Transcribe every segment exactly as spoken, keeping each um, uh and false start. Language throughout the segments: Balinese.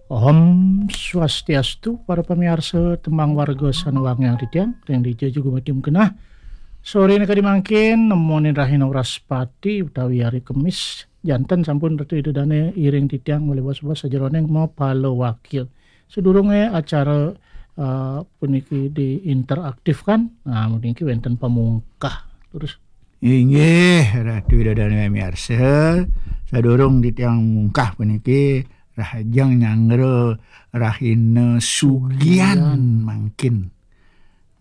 Om Swastiastu, para pamiarsa tembang warga sané wangiang titiang, ring dija juga mati mengkenah. Soré kadi mangkin, nemonin rahina Wraspati utawi hari Kemis. Janten sampun Ratu Ida Dané iring titiang malih bos-bos sajeroning mapala wakil. Sadurungé acara, eh, puniki diinteraktifkan, nah, puniki wénten pamungkah. Terus Inggih, Ratu Ida Dané miarsa, sadurung titiang mungkah puniki, rahajeng nyanggra rahina sugian Sugian. Mangkin.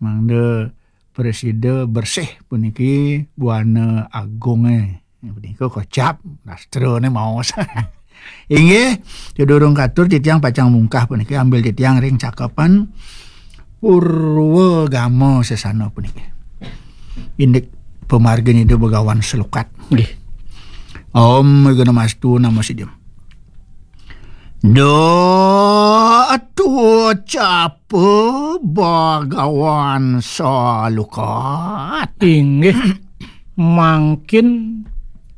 Mangda prasida bersih puniki buana agungé. Punika kocap, sastrané maos. Inggih, sadurung katur titiang pacang mungkah puniki, ambil titiang ring cakepan Purwagama Sesana puniki. Indik pamargin Ida Begawan Selukat. Nggih. Om Wignamastu Namo Sidham. Da atu capa Bagawan Salukat. Inggih, mangkin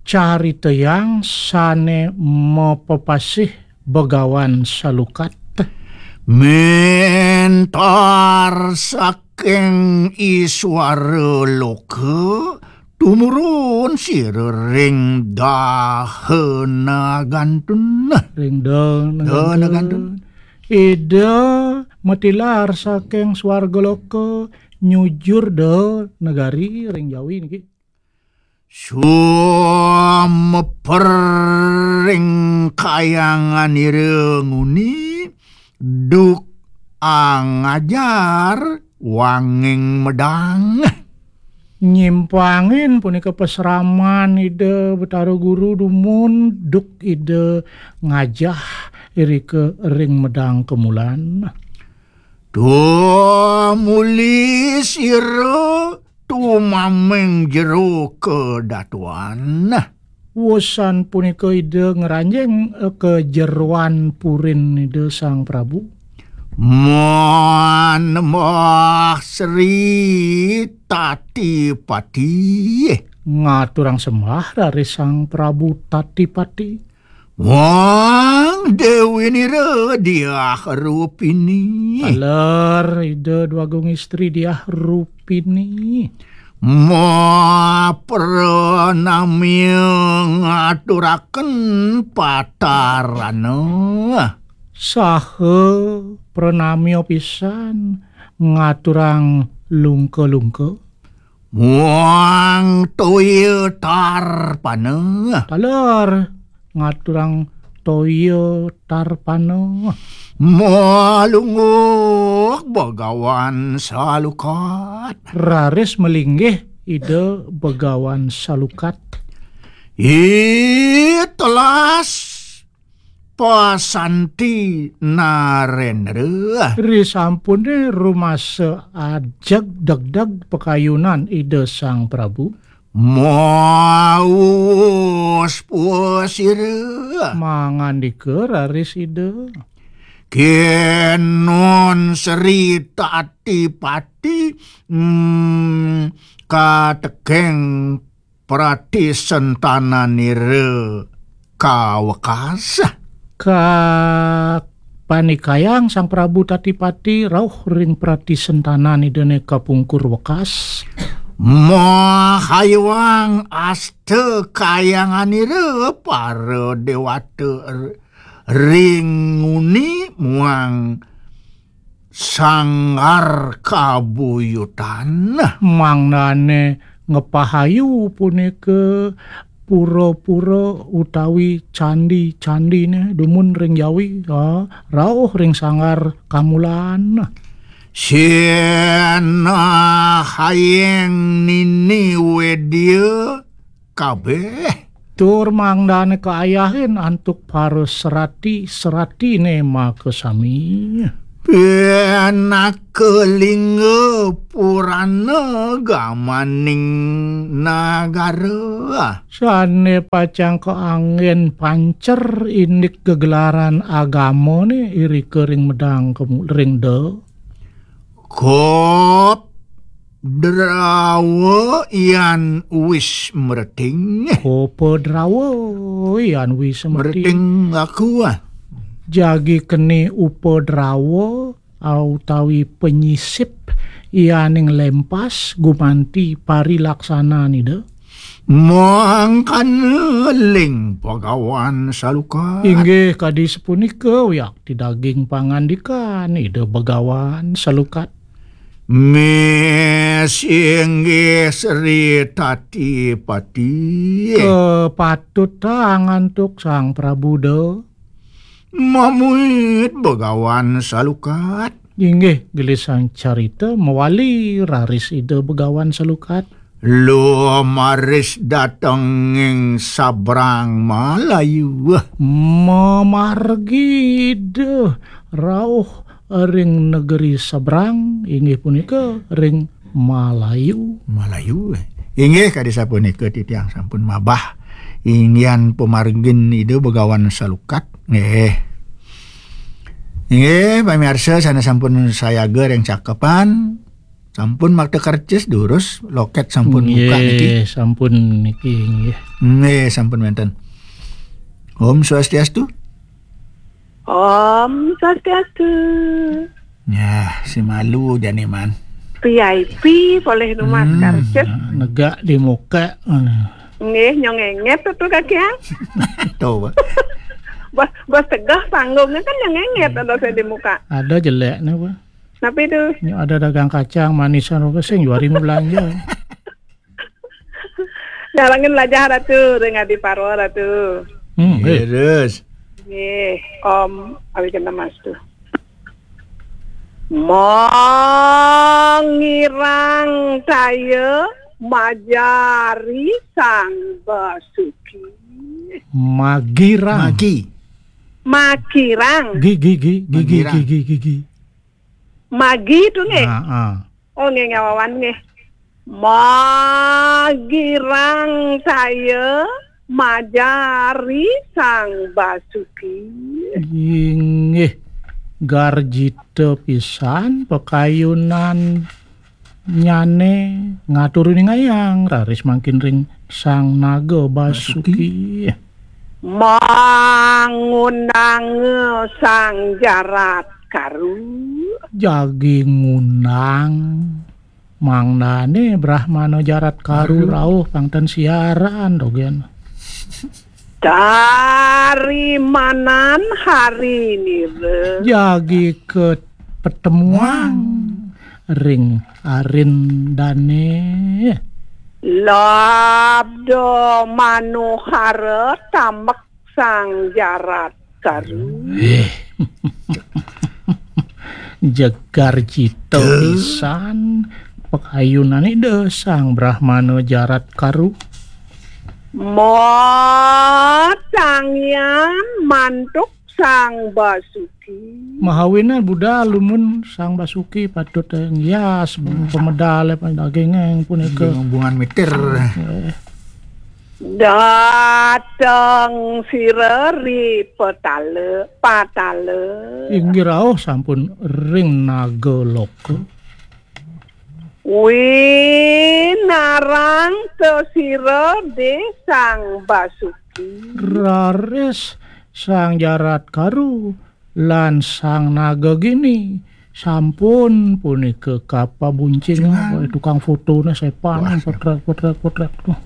caritayang sané mapapasih Begawan Salukat. Mentar saking iswara loka, tumurun sira ring dahana gantun. Ring dahana Dahana gantun. Gantun. Ida matilar saking swarga loka nyujur da negari ring Jawi niki. Sumeper ring kayanganira nguni, duk angajar wanging medang. Nyimpangin punika pasraman Ida Betara Guru dumun, duk Ida ngajah irika ring medang kemulan. Tumuli sira tumameng jero kedatuan. Wusan punika Ida ngranjing, eh, ka jeroan purin Ida Sang Prabu. Manembah Sri Tatipati. Ngaturang sembah raris Sang Prabu Tatipati. Wang Déwi Nira Diah Rupini. Taler Ida Dwagung Istri Diah Rupini. Ma pranamya ngaturaken patarana. Saha pranamya pisan ngaturang lungka-lungka. Muang toya tarpana. Taler ngaturang toya tarpana. Malungguk Begawan Salukat. Raris malinggih Ida Begawan Salukat. Itelas pasanti Narendra. Risampune rumasa ajeg degdeg pakayunan Ida Sang Prabu. Maus puasira. Mangandika raris Ida. Kenun Sri Tatipati, mm, katekeng pratisentananira kawekas. Kapanikayang Sang Prabu Tatipati rauh ring pratisentananidane kapungkur wekas. Mahayuang asta kayanganira para dewata r-, ring nguni muang sanggar kabuyutan. Mangdane ngepahayu punika pura-pura utawi candi-candine dumun ring Jawi, ya, rauh ring sanggar kamulan. Sinahayeng nini wedia kabeh. Tur mangdane kaayahin antuk para serati-serati ne makasami. Pinaka lingga purana gamaning nagara. Sane pacang kaanggen pancer indik gegelaran agamane irika ring medang kemu-, ring da. Kop drawa yan wis mreting. Kopa drawa yan wis mreting. Mreting aku, ah. Jagi keni upadrawa utawi penyisip yaning lempas gumanti parilaksanan Ida. Mangkana ling Bagawan Salukat. Inggih kadi sapunika wiakti daging pangandikan Ida Bagawan Salukat. Mes inggih Sri Tatipati. Kepatutang antuk Sang Prabu Da. Mamuit Bagawan Salukat. Inggih, gelisang carita mawali raris Ida Begawan Salukat. Lumaris datenging sabrang Malayu. Mamargi Ida rauh ring negeri sabrang, inggih punika ring Malayu. Malayu. Inggih, kadi sapunika titiang sampun mabah. Inggihan pamargin Ida Begawan Salukat. Nggih. Inggih, pamirsa sane sampun sayaga ring cakepan, sampun makta kercis durus, loket sampun buka niki. Nggih, sampun niki, nggih. Nggih, sampun wenten. Om Swastiastu. Om Swastiastu. Ya, si malu jani man. V I P polih numas Hmm, kercis. Negak di muka. Nggih, nyong enget tu kakian. Tuh, Pak. Bos, bos tegah panggungnya kan nyong enget ada saya di muka. Ada jelek nih, Pak. Napi tu? Ini ada dagang kacang manisan apa sing juari mau belanja. Nyalangin lajah Ratu, ring Adi Parwa Ratu. Hmm, eh. Terus. Nggih, Om Awigandamastu. Mangirang saya majari Sang Basuki. Magirang. Magi. Magirang. Gi, gi, gi, gi, gi, Magirang. Gi, gi, gi, gi. Magi tu nggih. Ah, ah. Oh, nggih, ngawawan nggih. Magirang saya majari Sang Basuki. Inggih, garjita pisan pakayunan nyane ngaturuningayang raris mangkin ring Sang Naga Basuki. Basuki. Mangundanga Sang Jarat Karu. Jagi ngundang mangdane Brahmana Jarat Karu. Karu. Rauh pang ten siaran dogen. Tarimanan hari nira. Jagi ke pertemuan ring arindane. Labda manuhara tambek Sang Jarat Karu. Eh. Jegar cita Duh. Pisan pakayunan Ida Sang Brahmana Jarat Karu. Matangian mantuk Sang Basuki. Mahawinan budal lumun Sang Basuki patut, eh, ngias pemedal, eh, daging, eh, punika. Daging hubungan mitir. Eh. Dateng sira ri petala, patala. Inggih rauh sampun ring Nagaloka. Winarang te sira de Sang Basuki. Raris Sang Jarat Karu lan Sang Naga Gini sampun punika kapabuncingan. Cingan. Oleh tukang fotone sepan. Wah, potret, potret, potret. Tuh.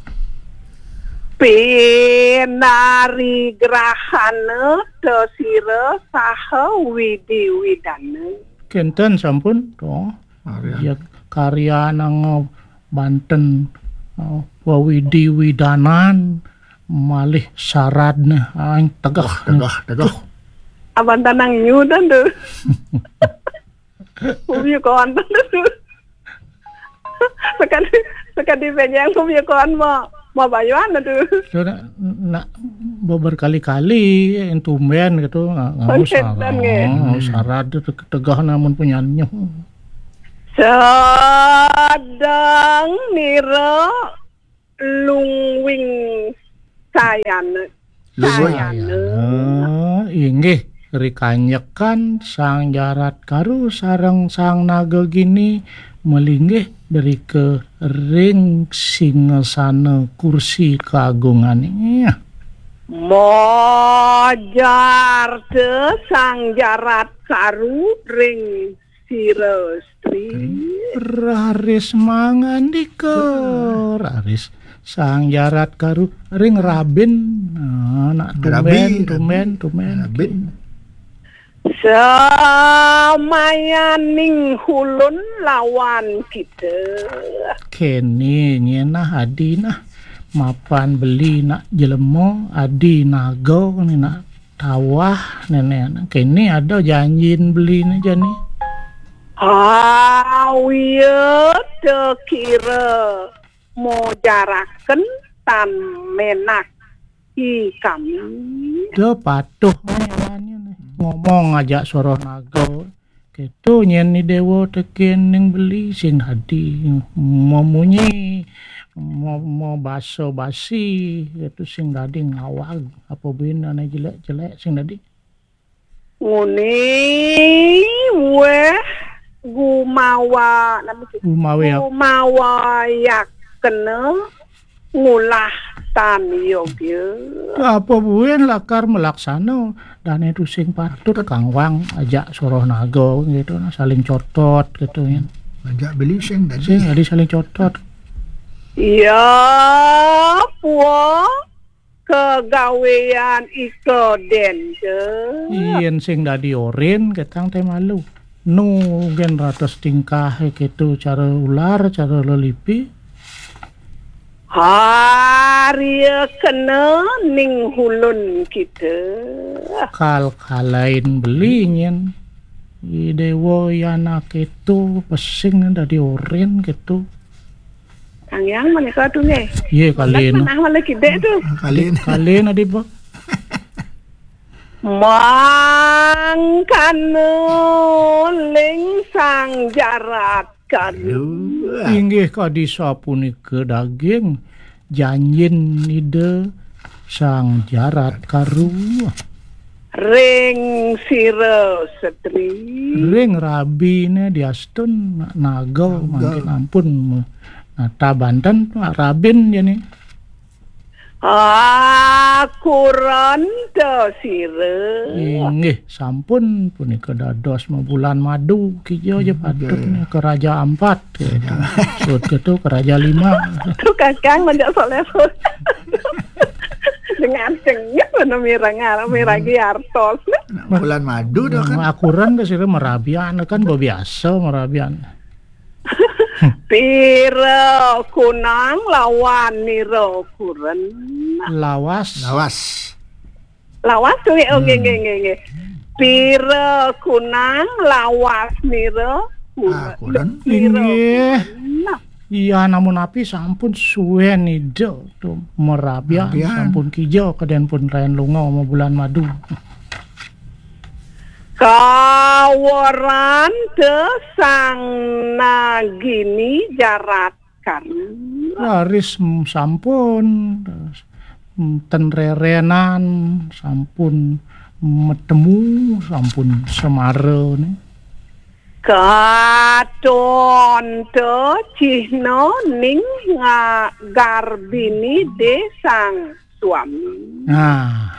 Pinarigrahana te sira saha widi widana. Kenten sampun, tuh. Karyan. Ya, karyan anga banten, eh, wawidi widanan malih saradne aing tegeh. Wah, tegeh, tegeh. Tuh. Abantan nang nyudan tu. Pumi konten tu. Sekali, sekali penyang pumi kon ma, ma bayuan tu. So, nak, nak berkali-kali yang tumben gitu, nggak, nggak usah. Kenten, nggih. Oh, hmm. Sarad tu te-, tegeh namun punyanya. Sedang nira lungwing sayana. Lungwing. Sayana. Sayana, inggih, rikanyekan Sang Jarat Karu sareng Sang Naga Gini malinggih drika ring singasana kursi kagungane. Mojar te Sang Jarat Karu ring sira stri. Raris mangandika, raris Sang Jarat Karu ring rabin. Ah, nak tumben, tumben, tumben. Rabin. Samayaning hulun lawan kita. Kene nyen nah adi nah, mapan beli nak jelema, adi naga ni nak tawah nene. Kene ada janjin beli ni jani. Awia tekira mojaraken tan menak i kami. Dia patuh nyalannya nih. Ngomong aja soroh naga. Keto nyen ni dewa teken ning beli sing dadi memunyi, mo, mo basa basi, keto sing dadi ngawag, apa buin ane jelek-jelek sing dadi. Nguni weh gumawa, nama sih? Gumawa. Gumawa yak kena ngulah tan yogya. Apa buin lakar melaksana dane tu sing patut kangwang aja soroh naga gitu nah, saling cotot gitu ya. Aja beli sing tadi. Sing tadi saling cotot. Ya, pua kegawean ika den ke. Yen sing dadi orin ketang te malu. Nu gen ratus tingkah ketu cara ular, cara lelipi. Harya kena ning hulun kita. Kal kalain beli nyen. I dewa yana ketu pesing dadi orin ketu. Kang Yang menika tu nggih. Iya, kali. Manah malah kidek tu. Kali. Kali nadi, Pak. Mangkana ling Sang Jarat Karu. Inggih kadi sapunika daging janjin Ida Sang Jarat Karu. Ring sira setri. Ring rabine diastun naga mangkin ampun nata banten rabin jani. Akuran ta sira. Inggih, sampun punika dados mabulan madu kija aja patut nih ke Raja Ampat. Sut ketu ke Raja Lima. Tu kakang menjak soleh. Dengan cengit mana mirang miragi artos. Bulan madu dah kan. Akuran ke sira merabian kan biasa merabian. Pira kunang lawan nira kuren. Lawas. Lawas. Lawas tu nggih, oh, nggih, nggih, nggih, nggih. Pira kunang lawas nira kuren. Ah, kuren. Nira kuren. Iya, namun api sampun suwen ida tu merabian, sampun kija keden pun rayan lunga ma bulan madu. Kawaran te Sang Nagini Jarat Karu. Raris sampun, ten rerenan, sampun metemu, sampun semara ni. Katon te cihna ning nga-, garbini de Sang Suami. Nah,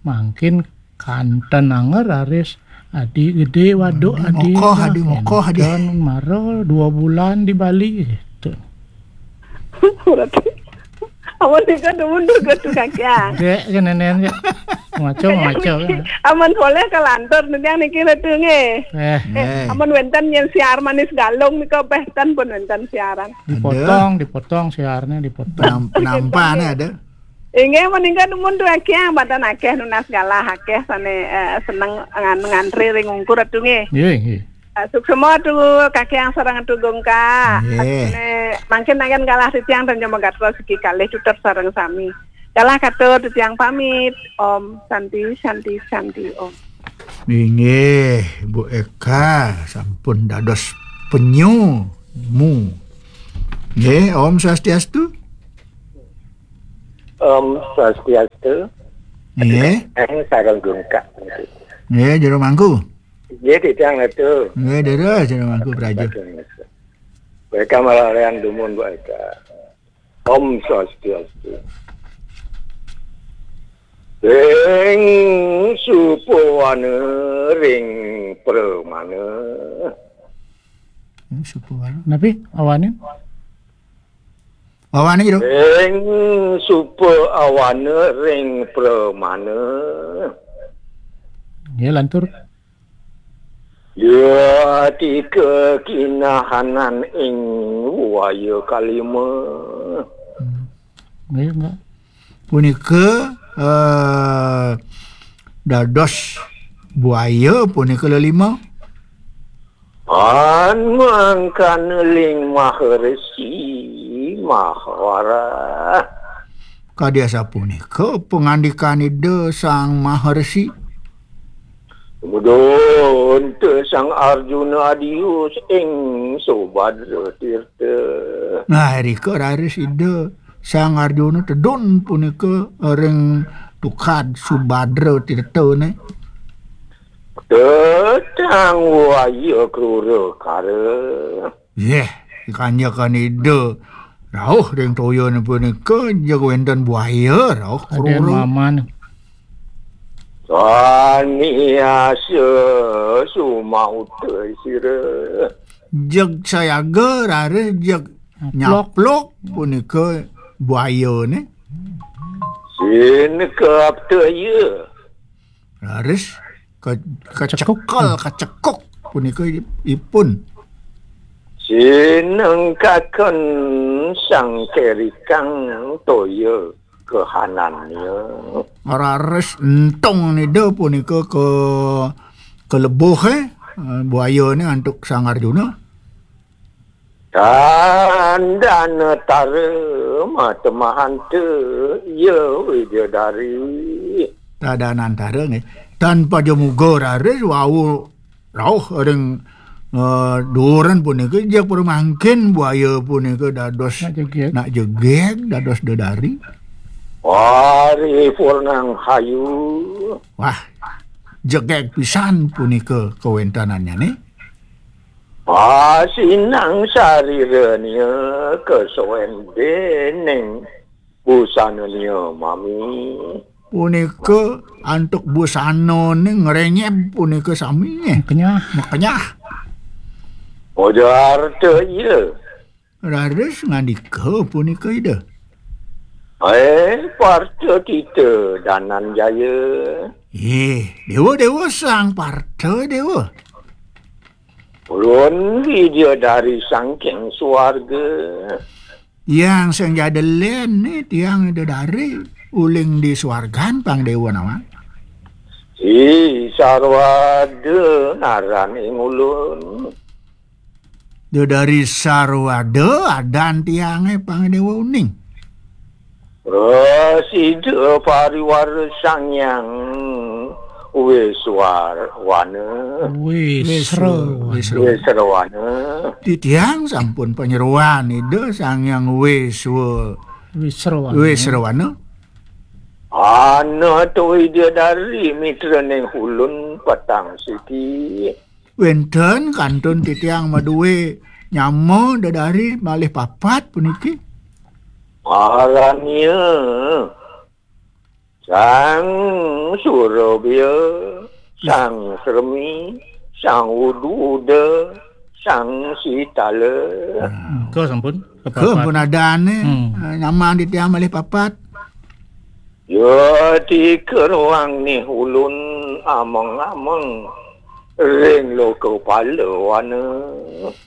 mangkin kanten anger raris adi gede waduk adi mokoh, adi mokoh, adi. Enten mara dua bulan di Bali gitu. Berarti amun nika dumun tu ke tu kaki ah. Dek ke nenen ya. Maco maco. Amun boleh ke lantur nanti yang niki letu nggih. Eh. Eh, amun wenten yang siar manis galung nika beh ten pun wenten siaran. Dipotong, dipotong siarnya dipotong. Penam-, penampane ada. Inggih, menika dumun tu akeh, mboten akeh nunas galah akeh sane, eh, seneng ngan-, ngantri ring ungkur atu nggih. Nggih, nggih. Eh, suksema tu kakiang sareng atu gungka. Nggih. Sane mangkin nangen galah titiang dan nyama gatra siki kalih tutur sareng sami. Galah katur titiang pamit. Om Santi, Santi, Santi, Om. Inggih, Bu Eka sampun dados penyu mu. Nggih, Om Swastiastu. Om Swastiastu. Nggih. Eng sareng gungka. Nggih, jero mangku. Nggih, titiang netu. Nggih, jero, jero mangku, Praja. Mereka malah yang dumun, Bu Eka. Om Swastiastu. Ring supawana ring pramana. Ring supawana. Napi awanin? Awanin, Jero. Ring supawana ring pramana. Ya, lantur. Ya, tika kinahanan ing waya kalima. Hmm. Nggih, enggak. Punika, eh, dados buaya punika lelima. An mangkana ling Maharesi Mahawara. Kadi asapunika pangandikan Ida Sang Maharesi. Mudunta Sang Arjuna adius ing Subadra Tirta. Nah, irika raris Ida Sang Arjuna tedun punika ring tukad Subadra Tirta ne. Tetang waya krura kara. Yeh, kanjekan Ida rauh ring toyane punika, jeg wenten buaya rauh. Aden krura. Maman. Saniasa sumauta sira. Jeg sayaga raris jeg nyapluk. Nyapluk punika buayane. Sin kaptaya. Raris ka-, kacekal, kacekuk punika ipun. Sinengkaken sang kerikang toya kahanannya. Raris entung Ida punika ka-, kalebuh, eh, buayane antuk Sang Arjuna. Tandana tara matemahanta ya Widadari. Tandana tara nggih. Tan pajamuga raris wau rauh ring, eh, duuran punika, jeg pramangkin buaya punika dados nak jegeg. Nak jegeg, dados dedari. Paripurnang hayu. Wah, jegeg pisan punika kawentenannyane. Pasinang sariranya kasoen dening busananya mami. Punika antuk busanane ngrenyeb punika sami. Makenyah. Makenyah. Ojarta iya. Raris ngandika punika Ida. Eh, Partha Tita Dananjaya. Eh, Dewa, Dewa, Sang Partha, Dewa. Ulun Widadari sangking suarga. Yang sing jadelen ni tiang Widadari uling di suargan, Pang Dewa nawang. Si Sarwada ngaran ing ulun. Widadari Sarwada adan tiange, Pang Dewa uning. Prasida pariwara Sang Hyang Wiswarwana. Wisra-, Wisra-, Wisrawana. Titiang sampun panyeroan Ida Sang Hyang Wiswa-, Wisrawana. Wisrawana. Ana to Widadari mitraning ulun petang siki. Wenten kantun titiang madue nyama dedari malih papat puniki. Arannya Sang Surabya, Sang Sremi, Sang Ududa, Sang Sitala. Hmm. Ka sampun? Ka papat. Ka pun adane, hmm, eh, nyaman titiang malih papat. Ya, tika ruang nih ulun ameng-ameng ring loka palawana.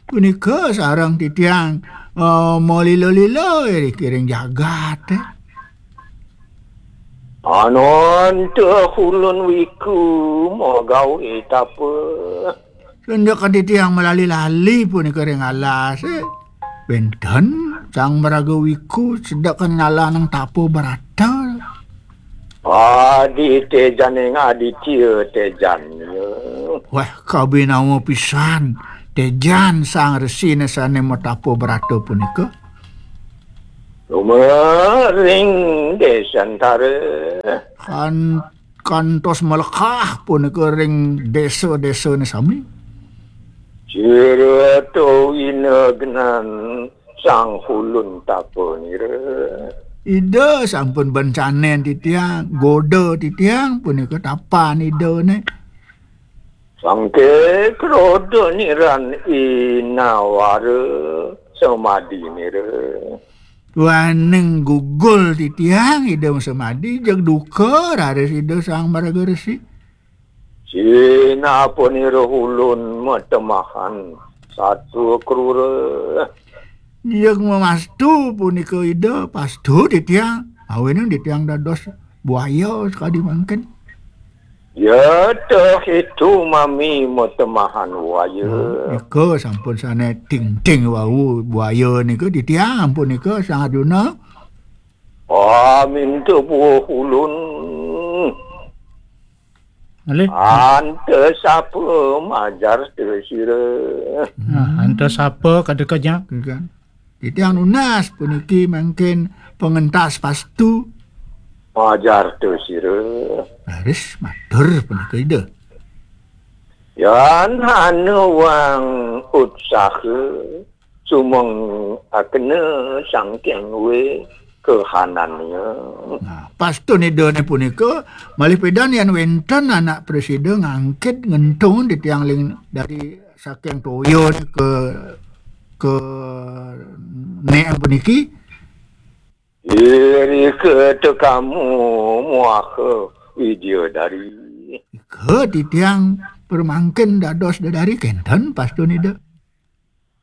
Punika sareng titiang, eh, malila-lila ring jagat, eh. Ananta ulun wiku magawe tapa. Sendek titiang malali-lali punika ring alas, eh. Wenten Sang Maraga Wiku sedekan ngalanang tapa brata. Adi tejaning Aditya tejanya. Wah, kabinawa pisan tejan Sang Resine sane matapa brata punika. Lumering Desantara. Kan-, kantos malekah punika ring desa-desane sami. Sira to winegnan Sang Hulun Tapanira. Ida sampun bencanen titiang, goda titiang punika tapan Ida ne. Sangke kroda niran inawara samadinira. Waning gugul titiang Ida samadi, jeg duka raris Ida Sang Maraga Resi. Sinapunira ulun matemahan satua krura. Jeg mamastu punika Ida, pastu titiang. Awinan titiang dados buaya sakadi mangkin. Ya teh itu mami matemahan buaya. Hmm, nika sampun sane tingting wau buaya nika titiang ampun nika Sang Arjuna. Amin tepuh ulun. Malih. Anta sapa majar sira. Nah, anta sapa kada kajak. Kan. Titiang nunas puniki mangkin pangentas pastu. Majar sira. Raris matur punika Ida. Yan hana wang utsaha sumeng akena sangkeng we kahanannya. Nah, pastun Idane punika malih pidan yan wenten anak presida ngangkit ngentung titiang ling dari saking toya ke ke nek puniki. Iri ke tekamu muaha Widya dari. Ke titiang permangkin dados dedari kenten pastun Ida.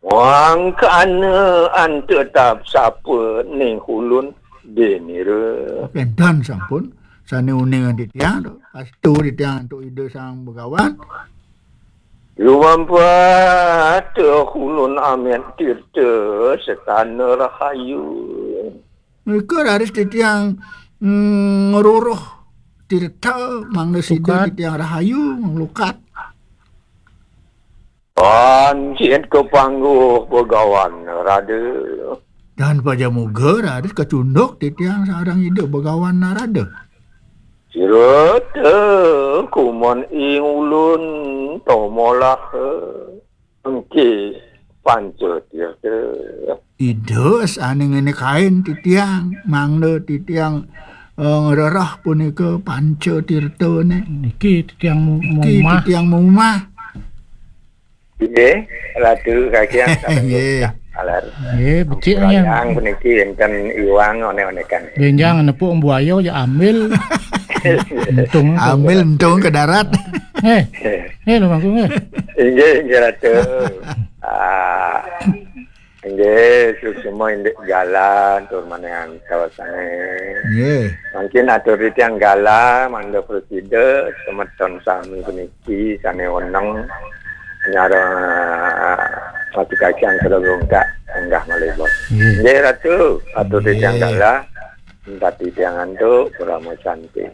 Wangkana anta tap sapa ning ulun denira. Kenten sampun sane uning titiang tu. Pastu titiang antuk Ida Sang Begawan. Lumampah ulun amet tirta setana rahayu. Mereka raris titiang mm, ngeruruh tirta mangda sida titiang rahayu nglukat. Pancit ke pangguh Begawan Narada. Dan pajamuga raris kacunduk titiang sareng Ida Begawan Narada. Sira te kumon ing ulun tomolah engke panca tirta. Ida sane ngene kain titiang, mangda titiang eh, ngrereh punika panca tirtane. Niki titiang mu- Niki mumah. Titiang mumah. Nggih, Ratu Kakian. Nggih. Alar. Nggih, becik nya. Yang puniki enten iwang onek-onekan. Benjang nepuk buaya ya ambil. Entung. Ambil entung ke darat. Eh, eh, lu mangkung eh. Inggih, inggih Ratu. Ah, inggih, suksma indik jalan tur maneh antos ae. Nggih. Mungkin atur titiang galah mangda presida semeton sami puniki sane weneng nyareng Ratu Kakian Kedogongkak enggah malih bos. Nggih. Nggih Ratu, atur titiang galah, entati tiang antuk, Purama Santi.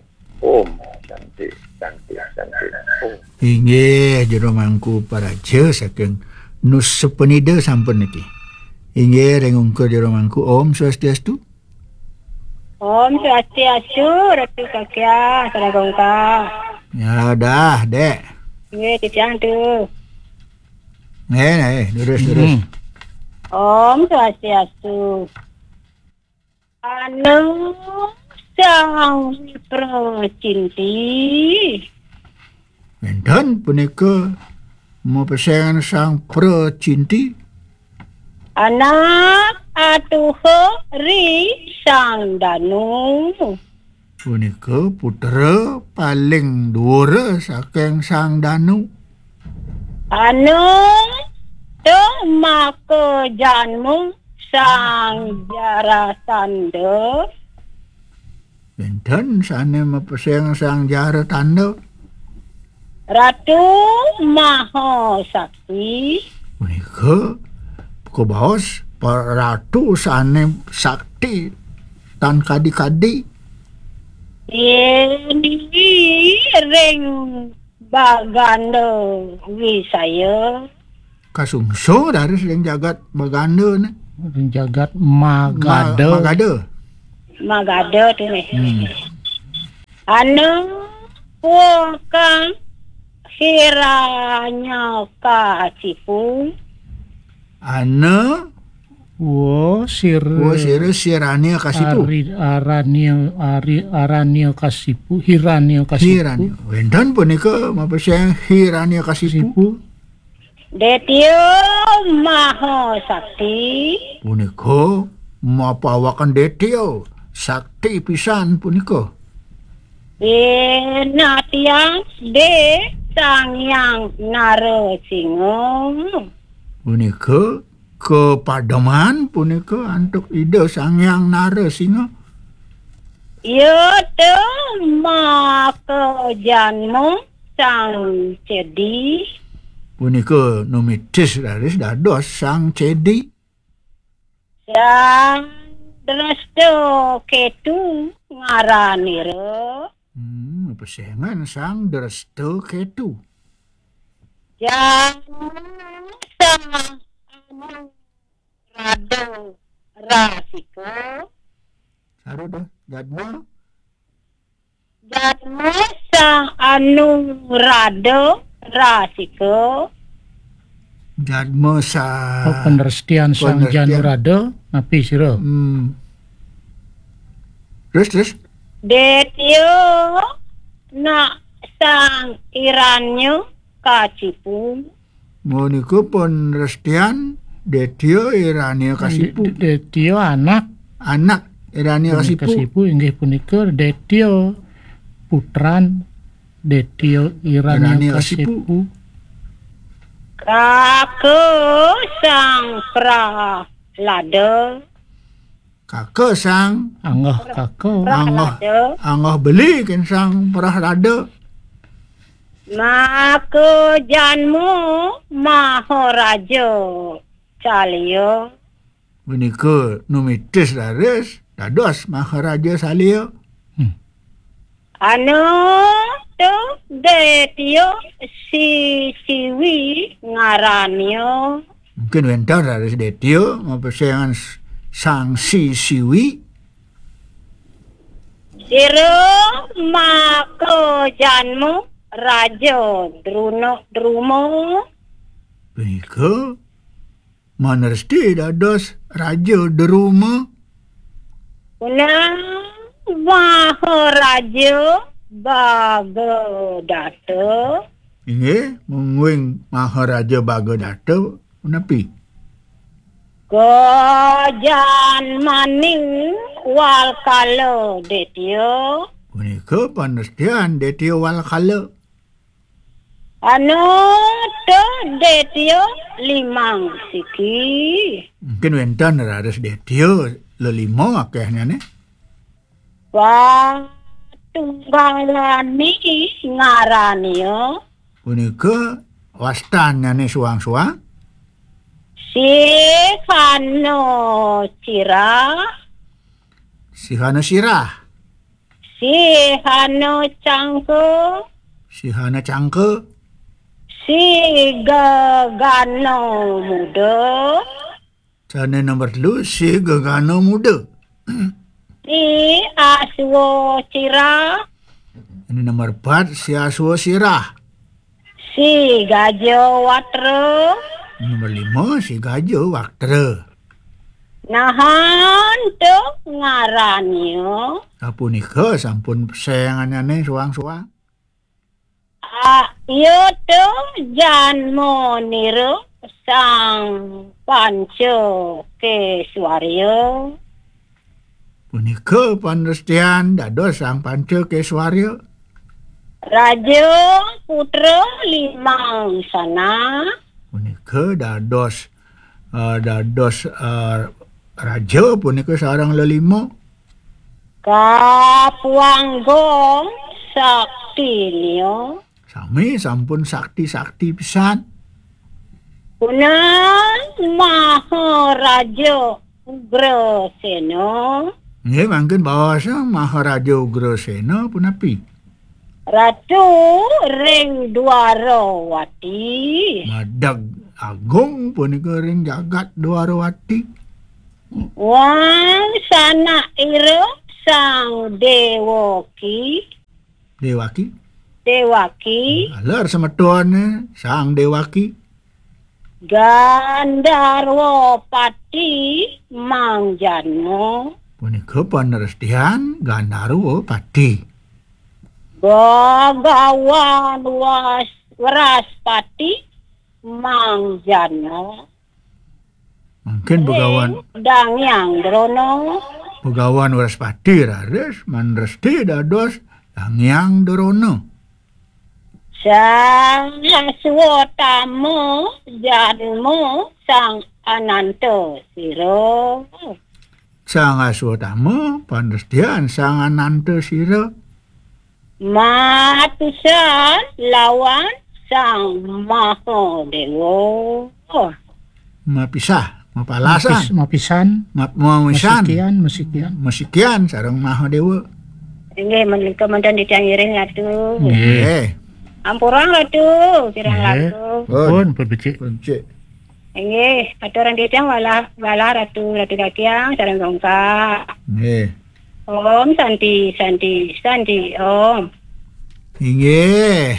Om Santi, Santi, Santi. Om. Inggih, Jero Mangku Paraja saking Nusa Penida sampun niki. Inggih, ring ungkur Jero Mangku. Om Swastiastu. Om Swastiastu, Ratu Kakiah, Saragongka. Ya dah, Dek. Nggih, titiang tu. Nggih, nggih, durus, durus. Hmm. Om Swastiastu. Anu Sang Wipra Cinti. Wenten punika mapesengan Sang Pracinti. Anak atuha ri Sang Danu. Punika putra paling dhuwur saking Sang Danu. Anu tumaka janmu Sang Jarasandha. Wenten sane mapeseng Sang Jarasandha. Ratu Maha Sakti. Punika kabaos pa-, ratu sane sakti tan kadi-kadi. Yen ring Baganda Wisaya. Kasungsung raris ring jagat Baganda ne. Ring jagat Magada. Ma-, Magada. Magada tu ne. Hmm. Anu wong kang Hiranyakasipu. Anu Wo sir. Wo sir Sirania Kasipu. Ari, Arania, Ari, Arania Kasipu, Hirania Kasipu. Hirania. Wénten punika mapeseng Hirania Kasipu. Kasipu. Detio Maha Sakti. Punika mapawaken Detio sakti pisan punika. Pinatian De Sang Hyang Narasinga. Punika kapademan punika antuk Ida Sang Hyang Narasinga. Iya te maka janma Sang Cedi. Punika numitis raris dados Sang Cedi. Sang Dresta Ketu ngaranira. Hmm, pesengan Sang Dresta Ketu. Jadma Sang Anu Rada Rasika. Saru dah, jadma. Jadma Sang Anu Rada Rasika. Jadma sa Oh, panrestian Sang Panrestian. Janurada, napi sira? Hmm. Terus, terus? Detio nak Sang Iranya Kacipu. Menika panrestian Detio Irania Kasipu. De-, Detio anak Anak Irania Kasipu. Kasipu inggih punika Detio putran Detio Irania Irania Kasipu. Kasipu. Kaka Sang Prahlada. Kaka Sang Anggah kaka. Angah, Prahlada. Angah beli ken Sang Prahlada. Maka janma Maharaja Salia. Menika numitis raris dados Maharaja Salia. Hmm. Anu tu Detio Sisiwi ngarania. Mungkin wénten raris Detio mapesengan s-, Sang Sisiwi. Sira maka janma Raja Druna Druma. Punika manresti dados Raja Druma. Punapi Maharaja Bagadata. Inggih, mungguing Maharaja Bagadata punapi? Kajanmaning Walkala Detio. Punika panrestian Detio Walkala. Anu te Detio limang siki. Mungkin wénten raris Detio lelima akéhnyané. Patunggalani ngarania. Punika wastannyané suang-suang. Sihana Sirah. Sihana Sirah. Sihana Cangka. Sihana Cangka. Sigagana Muda. Sané nomor telu, Sigagana Muda. Si Aswa Sirah. Ini nomor empat, Si Aswa Sirah. Si Gaja Watra. Nomor lima, Si Gaja Watra. Nahan tu ngarania. Sapunika sampun pesenganane suang-suang. Ah, iya tu janmanira Sang Panca Keswarya. Punika panrestian dados Sang Panca Keswarya. Raja putra limang sanak. Punika dados, eh, dados, eh, raja punika sareng lelima. Kapuangga saktinia. Sami sampun sakti-sakti pisan. Punang Maharaja Ugrasena. Nggih, mangkin baos Maharaja Ugrasena punapi? Ratu ring Dwarawati. Madeg agung punika ring jagat Dwarawati. Wang sanak ira Sang Dewaki. Dewaki. Dewaki. Aler semetone Sang Dewaki. Gandarwa Pati Mang Janma. Punika panrestian Gandarwa Pati. Bagawan Was-, Wraspati Mang Janma. Mangkin Begawan Ring Dangyang Drona. Begawan Wraspati raris manresti dados Dangyang Drona. Sang Aswatama Janma Sang Ananta Sira. Sang Aswatama panrestian Sang Ananta Sira. Mapisan lawan Sang Mahadewa. Mapisah, mapalasan. Mapis-, mapisan. Ma-, mamisan. Masikian, masikian. Masikian sareng Mahadewa. Inggih, menika manten titiang ngiring, Ratu. Nggih. Nggih. Ampurang, Ratu, kirang Nggih. Langkung. Pun, pun becik. Pun becik. Inggih, aturang titiang walah, walah Ratu, Ratu Dakiang, sareng Gongka. Nggih. Om Santi, Santi, Santi, Om. Inggih.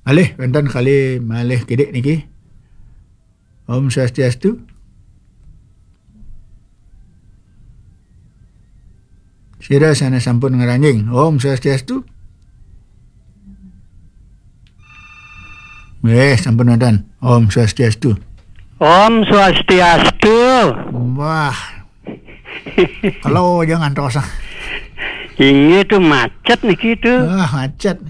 Malih, wénten kali malih kidik niki. Om Swastiastu. Sira sané sampun ngranjing. Om Swastiastu. Nggih, sampun wonten. Om Swastiastu. Om Swastiastu. Wah. Kalau aja ngantos. Inggih tuh macet niki tuh. Wah, macet.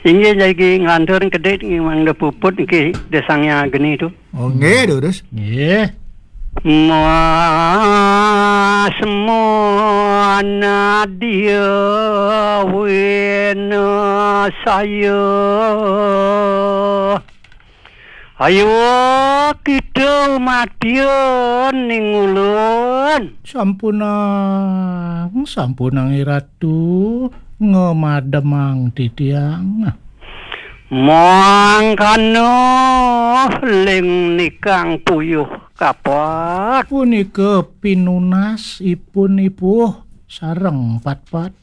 Inggih jagi nglantur kedit nggih mangda puput niki desangnya geni tuh. Oh, nggih, durus. Nggih. Masmana dia wena saya. Ayo kita matian ning ulun. Sampunang, sampunang Iratu, ngemademang titiang. Mangkana ling nikang puyuh kapat. Punika pinunas ipun ipuh sareng patpat.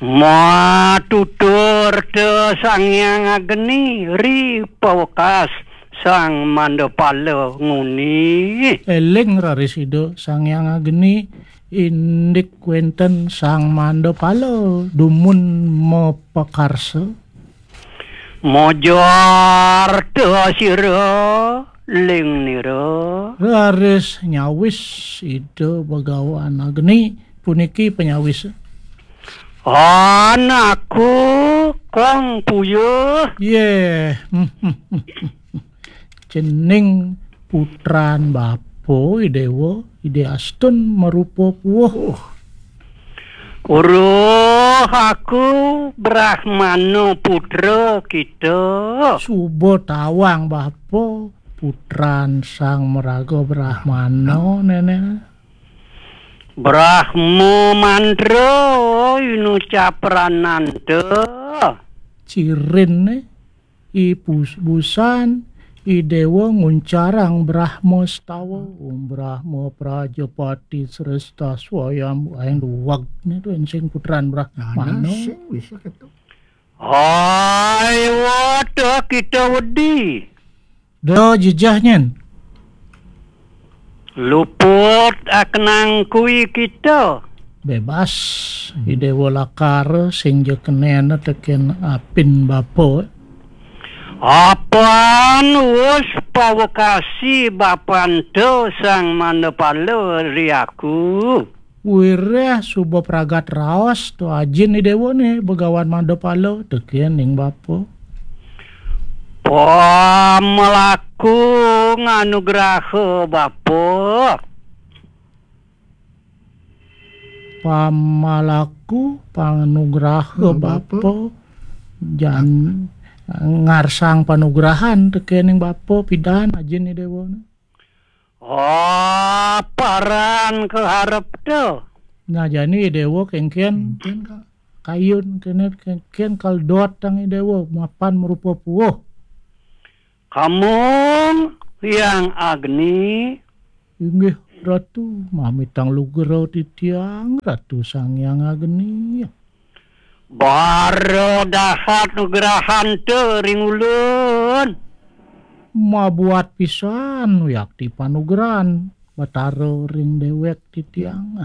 Matutur te Sang Hyang Agni ri pawekas Sang Mandapala nguni. Eling raris Ida Sang Hyang Agni indik wénten Sang Mandapala dumun mapakarsa. Mojar te sira ling nira. Raris nyawis Ida Bagawan Agni puniki panyawis. Anakku kong puyuh. Yeh. Cening putran bapa Idewa, Ide Astun marupa puwuh. Uruh aku Brahmana putra kita. Suba tawang bapa putran Sang Maraga Brahmana, Nenek. Brahma mantra inucap prananta. Cirinne, i pus-, busan, i dewa nguncarang Brahma stawa. Om Brahma Prajapati Sresta Swayam aing duwag nitu sing putran Brahmana. Sing bisa ketu. Hai wata kita wedi. Da jejeh nyen. Luput akenang kui kita. Bebas. I dewa lakar sing ja kenena teken apin bapa. Apan wus pawekasi bapanta Sang Mandapala ri aku. Wireh suba pragat raos to ajin i dewa ne Begawan Mandapala teken ning bapa. Pamelaku nganugraha bapa. Pamalaku panugraha bapa. Jan ngarsang panugrahan teken ning bapa pidan ajin i dewa ne. Oh, paran kaharep to. Nah, jani dewa kengken kayun kene kengken kal dot tang dewa mapan marupa puwuh. Kamong Hyang Agni. Inggih Ratu, mamitang lugra titiang Ratu Sang Hyang Agni. Bara dahat nugrahan te ring ulun. Mabuat pisan wiakti panugrahan Batara ring déwék titiang.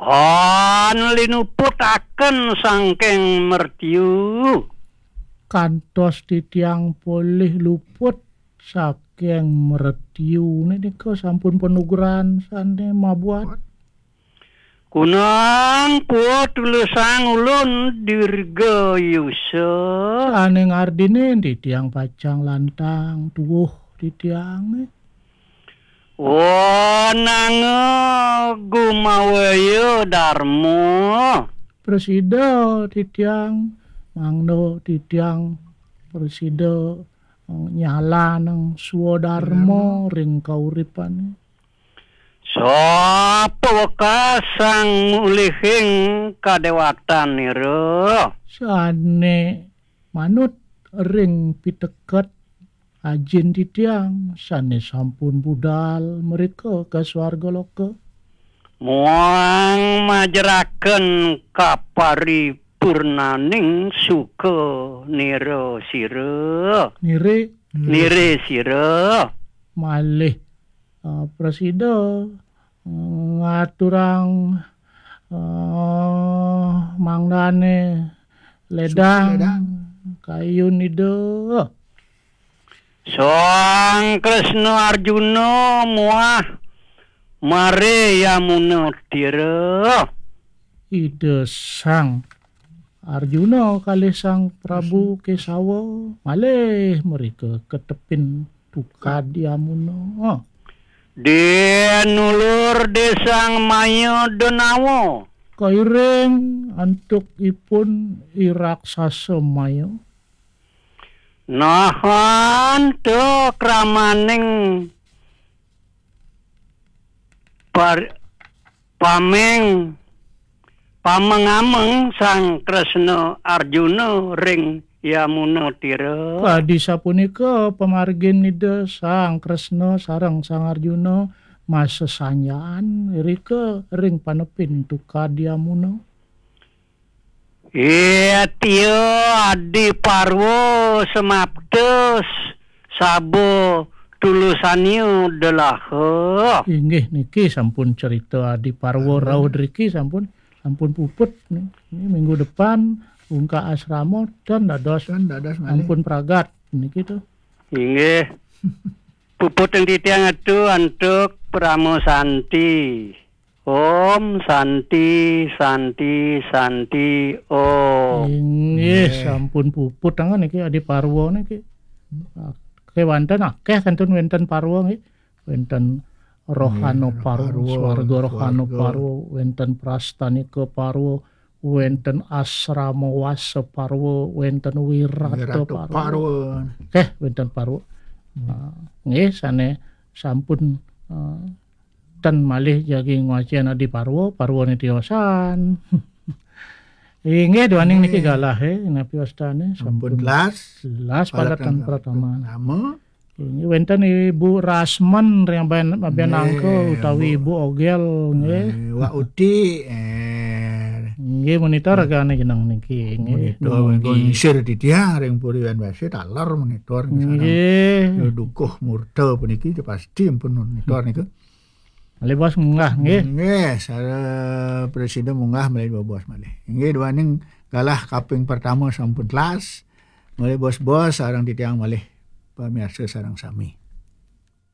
Han linuputaken sangking mertiu. Kantos titiang polih luput saking mertiune nika sampun panugrahan sané mabuat. Kunang puut tulusang ulun dirga yusa. Sané ngardinin titiang pacang lantang tuwuh titiangé. Wananga gumawaya darma. Prasida titiang, mangda titiang prasida, eh, nyalanang swadarma ring kauripané. Sapa wekas sang mulihing kadéwatan nira? Sané manut ring piteket ajin titiang sané sampun budal mrika ka swarga loka. Muang majeraken kaparipurnaning suka nira sira. Nire. Nire sira. Malih, eh, prasida, eh, ngaturang, eh, mangdané ledang, ledang. Kayun Ida. Sang Kresna Arjuna muah Mare Yamuna Tira. Ida Sang Arjuna kalih Sang Prabu Kesawa malih mrika ka tepin Tukad Yamuna. Dinulur Desang Maya Denawa. Kairing antuk ipun I Raksasa Maya. Nahan te kramaning par-, pameng, pameng-ameng Sang Kresna Arjuna ring Yamuna Tira. Kadi sapunika pamargin Ida Sang Kresna sareng Sang Arjuna masesanjaan irika ring panepin Tukad Yamuna. Iya, tia Adi Parwa semapta s-, saba tulusanya delaha. Inggih niki sampun cerita Adi Parwa rauh driki sampun, sampun puput ni. Ni minggu depan ungkak asrama tan dados, tan dados malih. Sampun pragat niki tu. Inggih. Puput ing titiang atu antuk Parama Santi. Om Santi, Santi, Santi, Om. Inggih, sampun puput tangan niki Adi Parwa niki. Kewanten akeh kantun wenten Parwa nggih. Wenten Rohana Parwa, Swarga Rohana Parwa, wenten Prastanika Parwa, wenten Asrama Wasa Parwa, wenten Wirata Parwa. Oke, wenten Parwa. Nah, nggih, sane sampun, eh, ten malih jagi ngwacen Adi Parwa, Parwane tiosan. Inggih, duaning niki galah, eh, napi wastane? Sampun telas. Telas padatan pratama. Inggih, wenten Ibu Rasmen ring Aben-, Abenangka utawi Ibu Ogel, nggih. Eh, Wak Uti, eh. Nggih, monitor ragane jeneng niki, nggih. Monitor, nggih. Ngisir titiang ring Puri Wan Wase, taler monitor niki sareng. Nggih. Dukuh Murta puniki pasti ampun monitor niku. Malih bos munggah, nggih. Nggih, sare presiden munggah malih dua bos malih. Nggih, duaning galah kaping pertama sampun telas. Malih bos-bos sareng titiang malih pamiarsa sareng sami.